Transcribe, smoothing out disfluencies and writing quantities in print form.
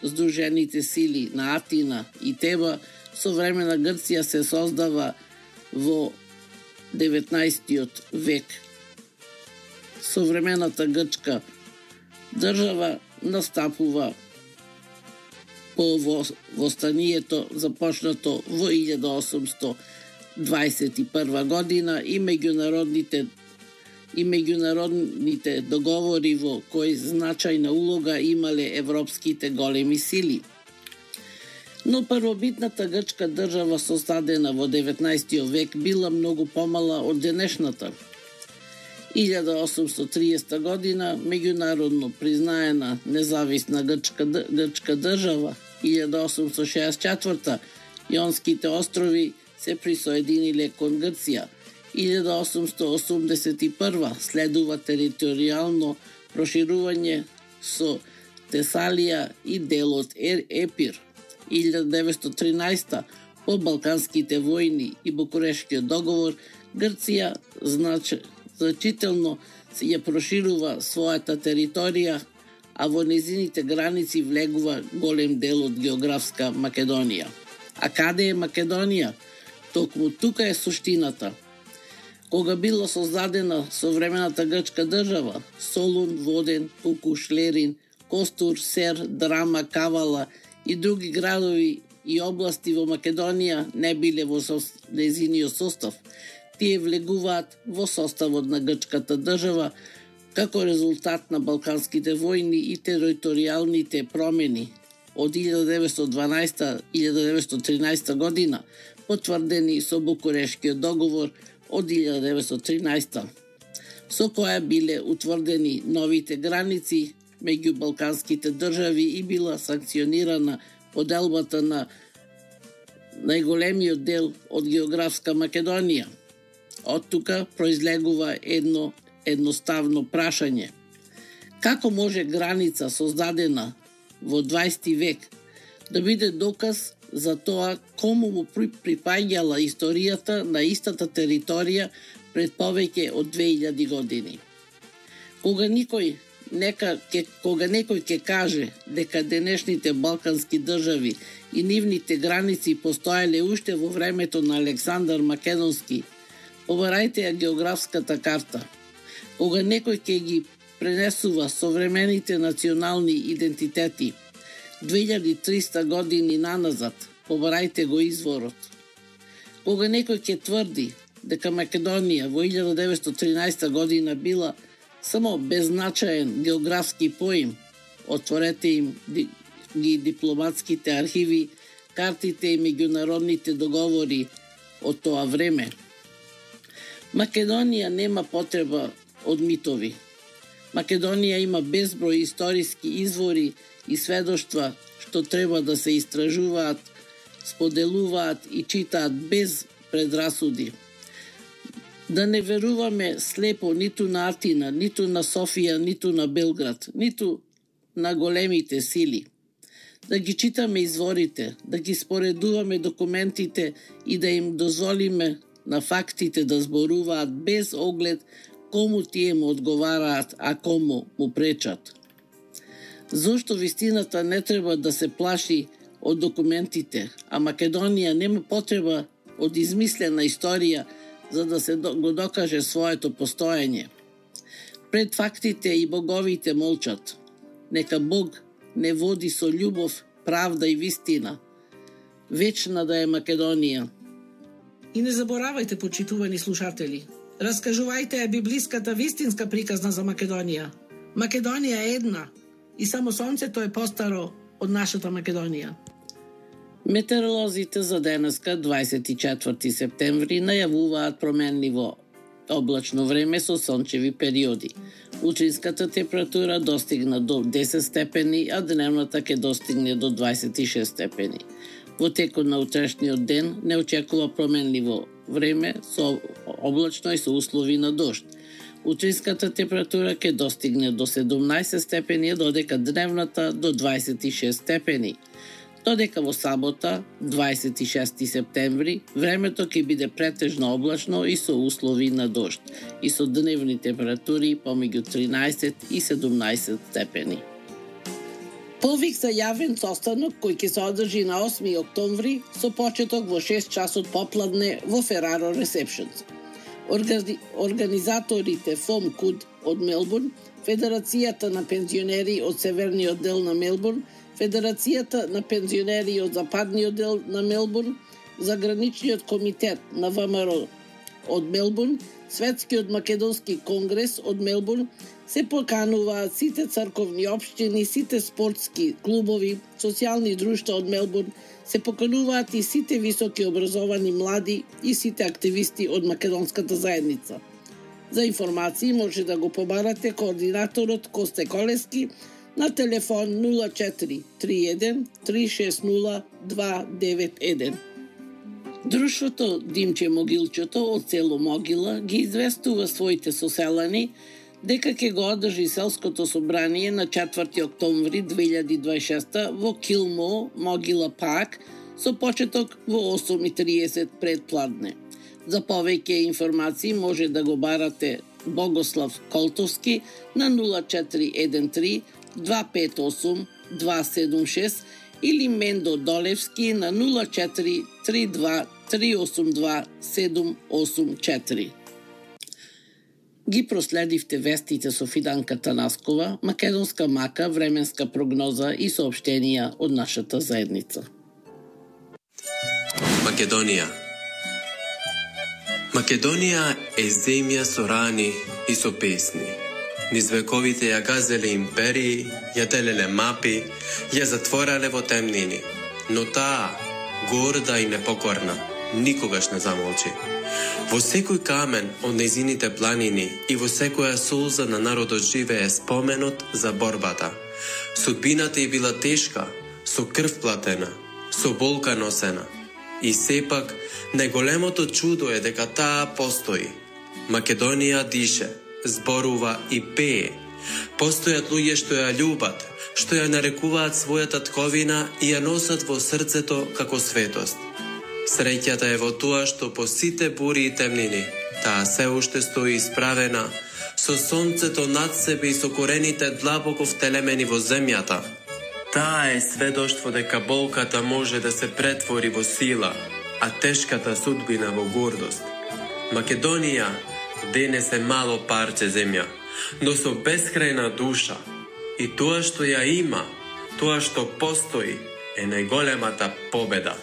Сдружените сили на Атина и Теба, современа Грција се создава во 19 век. Современата грчка држава настапува по востанието започнато во 1821 година и меѓународните договори во кои значајна улога имале европските големи сили. Но првобитната грчка држава создадена во 19 век била многу помала од денешната. 1830 година меѓународно признаена независна грчка држава, 1864 Јонските острови се присоединиле кон Грција. 1881 следува територијално проширување со Тесалија и дел од Епир. 1913 по Балканските војни и Букурешкиот договор Грција значително ја проширува својата територија, а во незините граници влегува голем дел од географска Македонија. А каде е Македонија? Токму тука е суштината. Кога била создадена современата грчка држава, Солун, Воден, Пукуш, Лерин, Костур, Сер, Драма, Кавала и други градови и области во Македонија не биле во незиниот состав. Тие влегуваат во составот на грчката држава како резултат на Балканските војни и територијалните промени од 1912-1913 година, потврдени со Букурешкиот договор од 1913, со која биле утврдени новите граници меѓу балканските држави и била санкционирана поделбата на најголемиот дел од географска Македонија. Од тука произлегува едно едноставно прашање. Како може граница создадена во 20 век да биде доказ за тоа кому му припаѓала историјата на истата територија пред повеќе од 2000 години? Кога некој ќе каже дека денешните балкански држави и нивните граници постоеле уште во времето на Александар Македонски, побарајте ја географската карта. Кога некој ќе ги пренесува современите национални идентитети 2300 години наназад, побарајте го изворот. Кога некој ќе тврди дека Македонија во 1913 година била само беззначаен географски поим, отворете им ги дипломатските архиви, картите и меѓународните договори од тоа време. Македонија нема потреба од митови. Македонија има безброј историски извори и сведоштва што треба да се истражуваат, споделуваат и читаат без предрасуди. Да не веруваме слепо ниту на Атина, ниту на Софија, ниту на Белград, ниту на големите сили. Да ги читаме изворите, да ги споредуваме документите и да им дозволиме на фактите да зборуваат без оглед кому тие му одговараат, а кому му пречат. Зошто вистината не треба да се плаши од документите, а Македонија нема потреба од измислена историја за да се го докаже своето постоење. Пред фактите и боговите молчат. Нека Бог не води со љубов, правда и вистина. Вечна да е Македонија. И не заборавајте, почитувани слушатели, раскажувајте ја библиската вистинска приказна за Македонија. Македонија е една и само сонцето е постаро од нашата Македонија. Метеоролозите за денеска, 24 септември, најавуваат променливо облачно време со сончеви периоди. Утринската температура достигна до 10 степени, а дневната ќе достигне до 26 степени. Во текот на утрешниот ден не очекува променливо време со облачно и со услови на дожд. Утринската температура ќе достигне до 17 степени, додека дневната до 26 степени. Додека во сабота, 26 септември, времето ќе биде претежно облачно и со услови на дожд, и со дневни температури помеѓу 13 и 17 степени. Повик за јавен состанок кој ќе се одржи на 8 октомври со почеток во 6 часот попладне во Ferraro Receptions. Организаторите ФОМ КУД од Мелбурн, Федерацијата на пензионери од Северниот дел на Мелбурн, Федерацијата на пензионери од Западниот дел на Мелбурн, Заграничниот комитет на ВМРО од Мелбурн, Светскиот македонски конгрес од Мелбурн, се покануваат сите црковни општини, сите спортски клубови, социјални друштва од Мелбурн, се покануваат и сите високи образовани млади и сите активисти од македонската заедница. За информации може да го побарате координаторот Косте Колески на телефон 0431 360 291. Друштвото Димче Могилчето од село Могила ги известува своите соселани дека ќе го одржи селското собрание на 4 октомври 2026 во Килмо, Могила Парк, со почеток во 8:30 предпладне. За повеќе информации може да го барате Богослав Колтовски на 0413 258 276 или Мендо Долевски на 0432 382 784. Ги проследивте вестите со Фиданка Танаскова, македонска мака, временска прогноза и соопштенија од нашата заедница. Македонија. Македонија е земја со рани и со песни. Низ вековите ја газеле империи, ја делеле мапи, ја затворале во темнини. Но таа, горда и непокорна, никогаш не замолчи. Во секој камен од нејзините планини и во секоја солза на народот живее споменот за борбата. Судбината ја била тешка, со крв платена, со болка носена. И сепак, најголемото чудо е дека таа постои. Македонија дише, зборува и пее. Постојат луѓе што ја љубат, што ја нарекуваат својата тковина и ја носат во срцето како светост. Среќата е во тоа што по сите бури и темнини, таа се уште стои исправена, со сонцето над себе и со корените длабоко втелемени во земјата. Таа е сведоштво дека болката може да се претвори во сила, а тешката судбина во гордост. Македонија денес е мало парче земја, но со бескрајна душа. И тоа што ја има, тоа што постои, е најголемата победа.